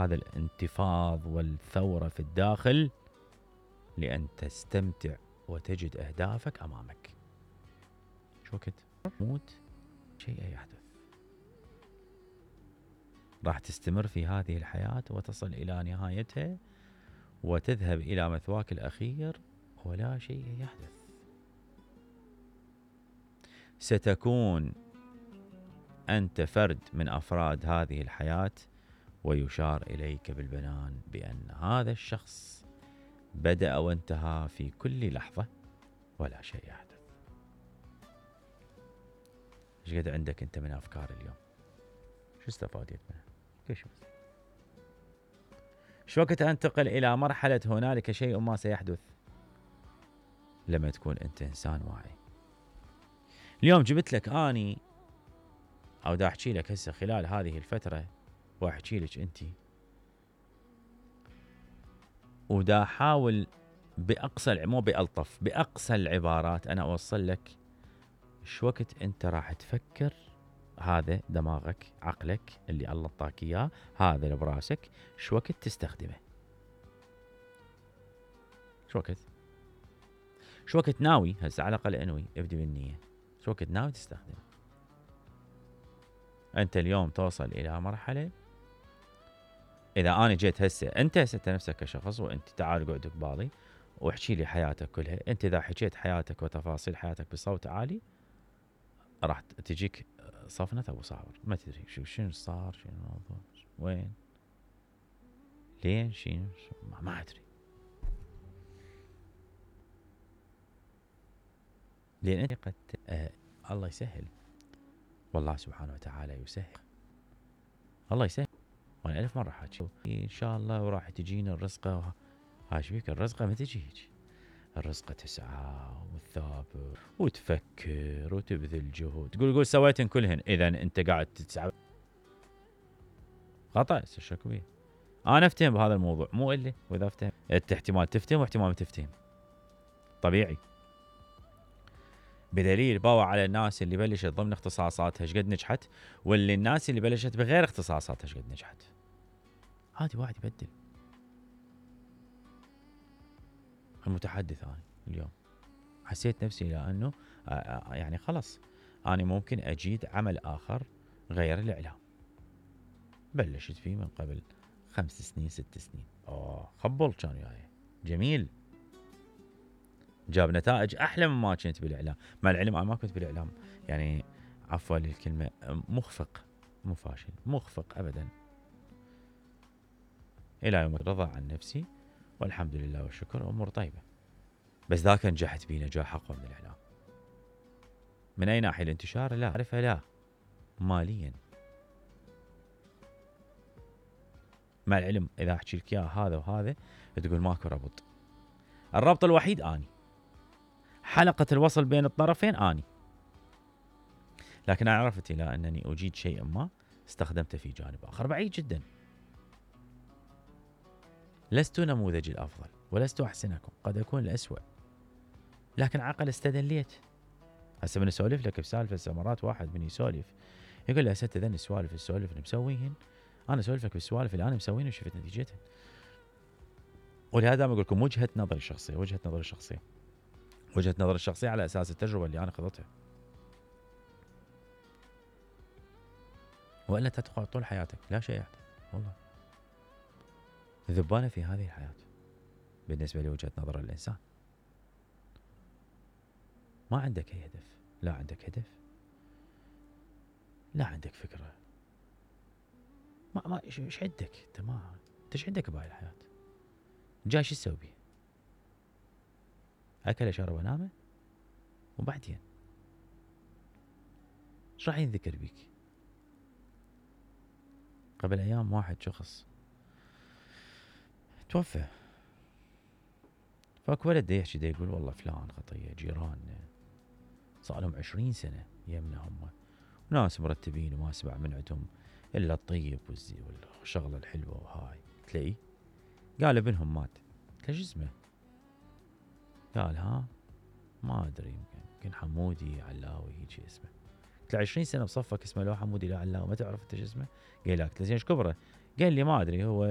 هذا الانتفاض والثورة في الداخل لأن تستمتع وتجد أهدافك أمامك. شو وقت موت شيء يحدث، راح تستمر في هذه الحياة وتصل إلى نهايتها وتذهب إلى مثواك الأخير ولا شيء يحدث. ستكون أنت فرد من أفراد هذه الحياة ويشار إليك بالبنان بأن هذا الشخص بدأ وانتهى في كل لحظة ولا شيء يحدث. ايش قد عندك أنت من أفكار اليوم؟ شو استفادت منها؟ شو وقت أنتقل إلى مرحلة هنالك شيء ما سيحدث؟ لما تكون أنت إنسان واعي. اليوم جبت لك أني أو دا أحكي لك هسه خلال هذه الفترة وأحكي لك أنت، ودا أحاول بأقصى مو بألطف بأقصى العبارات أنا أوصل لك شو وقت أنت راح تفكر. هذا دماغك عقلك اللي الله اعطاك إياه، هذا اللي براسك، شو وقت تستخدمه؟ شو وقت ناوي هسه على الأقل انوي ابدي بالنية، شو وقت ناوي تستخدمه؟ أنت اليوم توصل إلى مرحلة، إذا أنا جيت هسه أنت نفسك كشخص وأنت تعال قعد قبالي واحكي لي حياتك كلها، أنت إذا حكيت حياتك وتفاصيل حياتك بصوت عالي راح تجيك صفنة أبو صابر، ما تدري شنو صار، شنو الموضوع، وين، لين، شنو ما أدري. لأن أنت قد الله يسهل، والله سبحانه وتعالى يسهل، الله يسهل. وأنا 1000 مرة حاكي إن شاء الله وراح تجينا الرزقة. هاش بيك الرزقة ما تجي هيك، الرزقة تسعى وتثابر وتفكر وتبذل جهد، تقول سويتن كلهن، إذا أنت قاعد تسعى خطأ. شكو بيه؟ أنا أفتهم بهذا الموضوع مو إلي، وإذا أفتهم أنت احتمال تفتهم واحتمال ما تفتهم، طبيعي. بدليل باوع على الناس اللي بلشت ضمن اختصاصاتها ايش قد نجحت، واللي الناس اللي بلشت بغير اختصاصاتها ايش قد نجحت. عادي واحد يبدل. المتحدث أنا اليوم حسيت نفسي لأنه يعني خلص أنا ممكن أجيد عمل آخر غير الإعلام. بلشت فيه من قبل 5 سنين 6 سنين. خبل كان وياي جميل، جاب نتائج أحلى مما كنت بالإعلام. مع العلم أنا ما كنت بالإعلام يعني عفوا للكلمة مخفق، مو فاشل، مخفق أبدا. إلى يوم الرضا عن نفسي والحمد لله والشكر أمور طيبة. بس ذاك نجحت بيه نجاح أقوى من الإعلام. من أي ناحية؟ الانتشار لا أعرفها، لا ماليا. مع العلم إذا أحكي لك إياه هذا وهذا تقول ماكو ربط. الربط الوحيد أني، حلقة الوصل بين الطرفين أني. لكن أنا عرفت إلى أنني أجيد شيء ما استخدمته في جانب آخر بعيد جدا. لست نموذج الأفضل ولست أحسنكم، قد أكون الأسوأ، لكن عقل استدليت. هسه من أسولف لك بسالفة مرات واحد من يسولف يقول لي هسه ذن السوالف اللي مسويهن، أنا أسولف لك بالسوالف اللي أنا مسويهن وشفت نتيجتها. ولهذا أقول لكم وجهة نظري الشخصية، وجهة نظري الشخصية على أساس التجربة اللي أنا خضتها. وإلا تدخل طول حياتك لا شيء يحدث. والله ذبانة في هذه الحياة بالنسبة لوجهة نظر الإنسان. ما عندك أي هدف، لا عندك هدف، لا عندك فكرة، ما ايش عندك انت؟ ما انت ايش عندك بهاي الحياة؟ جاي شو تسوي بيه؟ أكل شرب نامه وبعدين ايش راح ينذكر بيك؟ قبل أيام واحد شخص توفى، فاكو ولد يحكي يقول والله فلان خطية جيراننا صار لهم 20 سنة يمنا هم ناس مرتبين وما اسمع من عندهم إلا الطيب والشغلة الحلوة وهاي. تلاقيه قال ابنهم مات. ليش اسمه؟ قال ما أدري، يمكن حمودي علاوي هيك اسمه. قلت له 20 سنة بصفك اسمه لو حمودي لا علاوي ما تعرف انت شو اسمه؟ قال لك زين ايش كبره؟ قال لي ما ادري هو